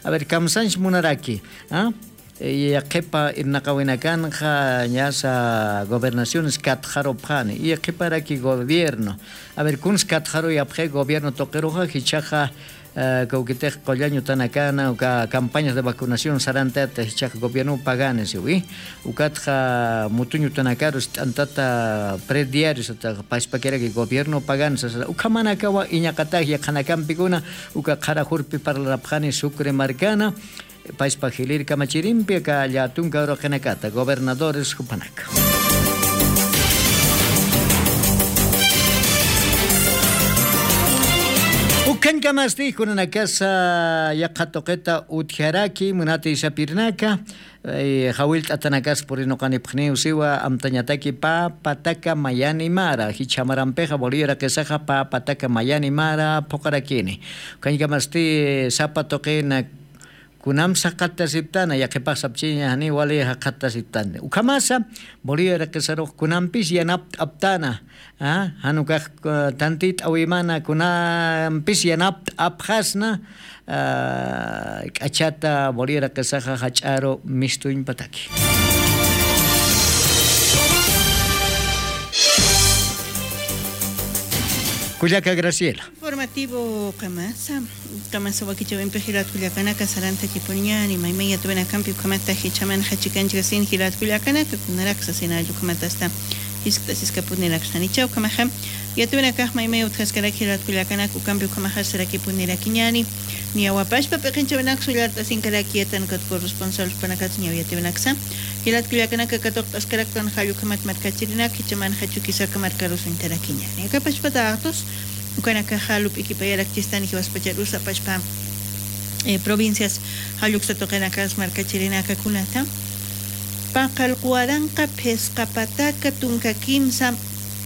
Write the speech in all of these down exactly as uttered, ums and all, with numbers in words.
A ver, kamsanch munaraki, ¿ah? Yaqhipa irnaqawinakanxa ñasa gobernaciones katxarupxani, yaqhiparaki gobierno. A ver, kuns katxaruyapxi gobierno tuqiruxa, jichhaxa, eh, kawkitix qullañ utanakana, uka campañas de vacunación sarantata, jichhaxa gobierno pagani siwi. Ukatxa mutuñ utanakaru ist'antata prediario sata, paspakiraki gobierno pagani sasa, ukhamanakawa iñaqatax yaqhanakampikuna, uka qhara jurpi parlarapxani Sucre markana, paspa jilïr kamachirimpi aka llätunka uraqinakata, gobernadores jupanaka. Ukhañkamasti kunanakasa yaqha tuqita utjaraki, munata isapirinaka, eh, jawillt'atanakas purinuqanipxniw siwa, amtañataki pä pataka mayani mara, jichha marampixa Bolivia uraqisaxa pä pataka mayani mara phuqarakini. Ukhañkamasti sapa tuqina kunam saqatasiptana, yaqhipax sapchiña janiw wali jaqatasiptani. Ukhamasa, Bolivia uraqisarux kunampis yanapt'aptana, ah, jan ukax, eh, tantit'awimana, kunampis yanapt'apxasna, ah, k'achata Bolivia uraqisaxa jach'aru mistuñ pataki. Kullaka Graciela. Informativo qamasa, qamasa wakichäwimpi jilat kullakanaka sarantakipuniñäni, maymay yatawinakampi ukhamata jichhamanxa chikanchkasin jilat kullakanaka, kunarak sasinalla ukhamatasta jiskt'asiskapuniraksanïcha. Ukhamaxa yatawinakax maymay utjaskarak jilat kullakanaka ukampi ukhamaxa sarakipunirakiñäni, niyawa pachpa p'iqinchäwinak sullart'asinkaraki yatan ukat corresponsal jupanakatsa niyaw yatawinaksa. Jilat kullakanaka katuqt'askaraktan jall ukhamat markachirinak, jichhamanxa Chuquisaca markarus uñtarakiñäni. Aka pachpa datos, ukanakaxa lup'ikipayarakchistani jiwaspacharus pachpa, eh, provincias, jall uksa tuqinakas markachirinaka kunata. Paqallq waranqa phisqa pataka tunka kimsa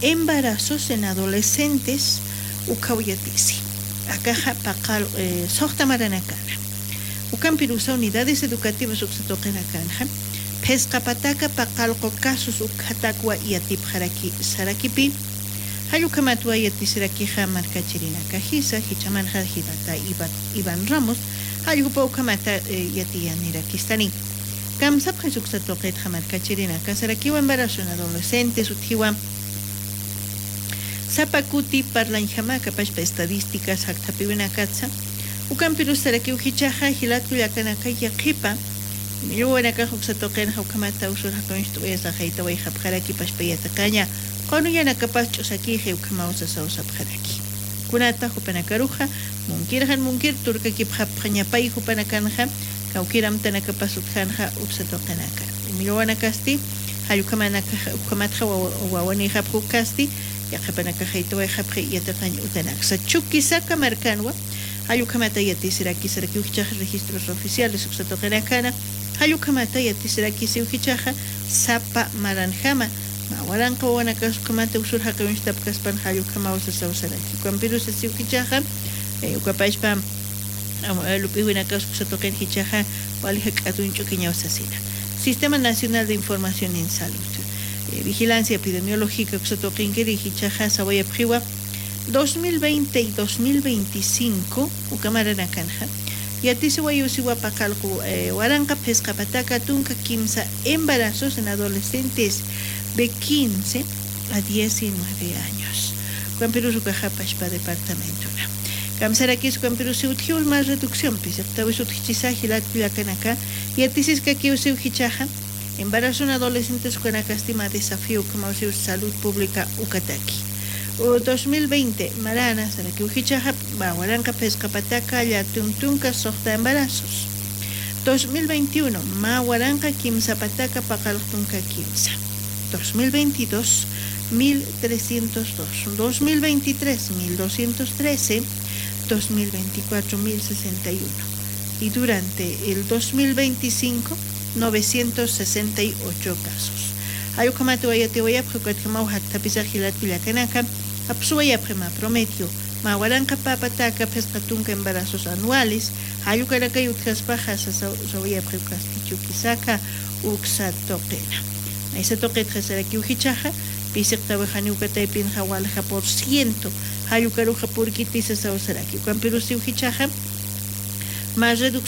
embarazos en adolescentes ukhaw yatisi. Akaxa paqallq, eh, suxta maranakana. Ukampirusa unidades educativas uksa tuqinakanxa phisqa pataka paqallqu casos ukhatakwa yatipxaraki sarakipi. Jall ukhamatwa yatisirakixa markachirinakajisa, jichhamanxa jilata Iva-, Iván Ramos, jall jupa ukhamata, eh, yatiyanirakistani. Kamsapxis uksa tuqitxa markachirinaka sarakiwa embarazo en adolescentes utjiwa sapa kuti parlañjama aka pachpa estadísticas jakthapiwinakatsa. Ukampirus sarakiw jichhaxa jilat kullakanaka yaqhipa millwawanakax uksa tuqinxa ukhamata usur jaqincht'awayasa jaytawayxapxaraki pachpa yatiqaña, qunuyanakapas ch'usakixi ukhamaw sasaw sapxaraki. Kunata jupanakaruxa munkir jan munkir turkakipxapxañapay jupanakanxa, kawkir amtanakapas utjanxa uksa tuqinaka. Millwawanakasti jall ukhamanaka-, ukhamatxa wawa-, wawanïxapxi ukasti, yaqhipanakax jaytawayxapxi yatiqañ utanaksa. Chuquisaca markanwa jall ukhamata yatisiraki sarakiw jichhaxa registros oficiales uksa tuqinakana, jall ukhamata yatisirakisiw jichhaxa sapa maranjama, mä waranqa wawanakas ukhamata usur jaqi uñstapkaspan jall ukhamaw sasaw saraki. Ukampirus sasiw jichhaxa, eh, uka pachpa, am, eh, lup'iwinakas uksa tuqin jichhaxa wali jak'at uñch'ukiñaw sasina. Sistema Nacional de Información en Salud, eh, Vigilancia Epidemiológica uksa tuqinkiri jichhaxa sawayapxiwa dos mil veinte y dos mil veinticinco uka maranakanxa yatisiwayiw siwa paqallqu, eh, waranqa phisqa pataka tunka kimsa embarazos en adolescentes de quince a diecinueve años. Ukampirus ukaxa pachpa departamentona. Kamsarakis ukampirus utjiw mä reducción, pisiqtäwis utjchisa jilat kullakanaka, yatisiskakiw siw jichhaxa embarazo en adolescentes ukanakasti mä desafío ukhamaw siw salud pública ukataki. U, dos mil veinte marana sarakiw jichhaxa mä waranqa phisqa pataka llätum tunka suxta embarazos. Dos mil veintiuno mä waranqa kimsa pataka paqallq tunka kimsa. Dos mil veintidós, mil trescientos dos. Dos mil veintitrés, mil doscientos trece. Dos mil veinticuatro, mil sesenta y uno. Y durante el dos mil veinticinco, novecientos sesenta y ocho casos. Jall ukhamata yatiwayapxi ukatjamaw jakthapisax jilat kullakanaka, apsuwayapxi mä promedio, mä waranqa pä pataka phisqa tunka embarazos anuales, jall ukanakay utjaspaxa sasaw-, sawayapxi ukasti Chuquisaca uksa tuqina. Maysa tuqitxa sarakiw jichhaxa, pisiqtäwi janiw ukataypinxa walja por ciento, jall ukaruxa purkiti sasaw saraki. Ukampirus siw jichhaxa, mä reducción